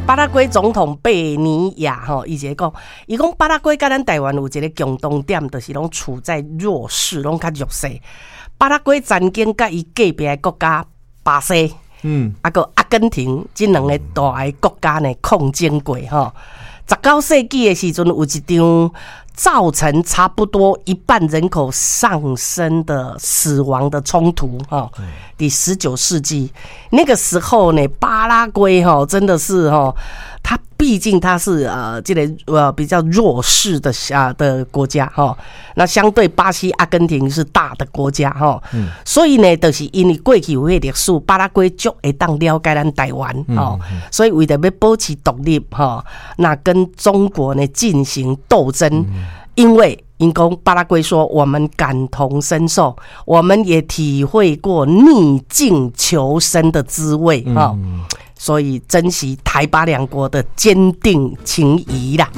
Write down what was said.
巴拉圭總統貝尼亞吼，伊一个講，伊講巴拉圭佮咱台灣有一个共同點，就是攏處在弱勢，攏較弱勢。巴拉圭曾經佮伊隔壁的國家巴西，啊閣阿根廷這兩个大的國家呢抗爭過吼。19世紀的時陣，有一場造成差不多一半人口喪生的死亡的衝突，哈。佇19世紀那個時候呢，巴拉圭哈真的是哈，它畢竟它是這個比較弱勢的啊的國家哈，那相對巴西、阿根廷是大的國家哈，所以呢，就是因為過去有彼個歷史，巴拉圭足會當了解咱台灣吼，所以為著欲保持獨立吼，那跟中國呢進行鬥爭，因為𪜶講巴拉圭說，我們感同身受，我們也體會過逆境求生的滋味哈，所以珍惜台巴兩國的堅定情誼啦。